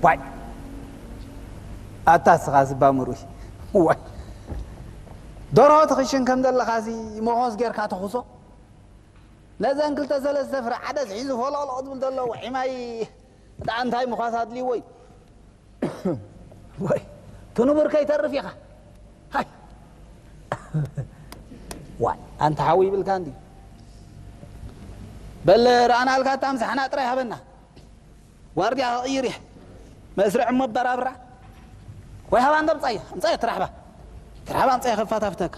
ዋይ ኣታ ስኻ ዝባ ምሩይ ዋይ ደርሆ ትኽሽን ከም ዘለኻሲ መኾስ ጌርካ ተኹሶ። ነዘን ክልተ ሰለስተ ፍረ ዓደስ ሒዙ ፎለቕለቕ ዝብል ዘሎ ውዒ ማይ እታ እንታይ ምዃስ ኣድልይዎ እዩ። ወይ ትንቡር ከይተርፍ ኢኻ። ሃይ ዋይ ኣንተ ሓዊ ይብልካ እንዲ በል ረኣናልካ እታ ምሳሕና ጥራይ ሃበና። ዋርድያ ክቕይር እየ። መስርዕ እሞ ኣበራብራ። ወይ ሃባ እንዶ ኣምጻያ ኣምጻያ ትራሕባ ትራሕባ ኣምጻያ ከፋታፍተካ።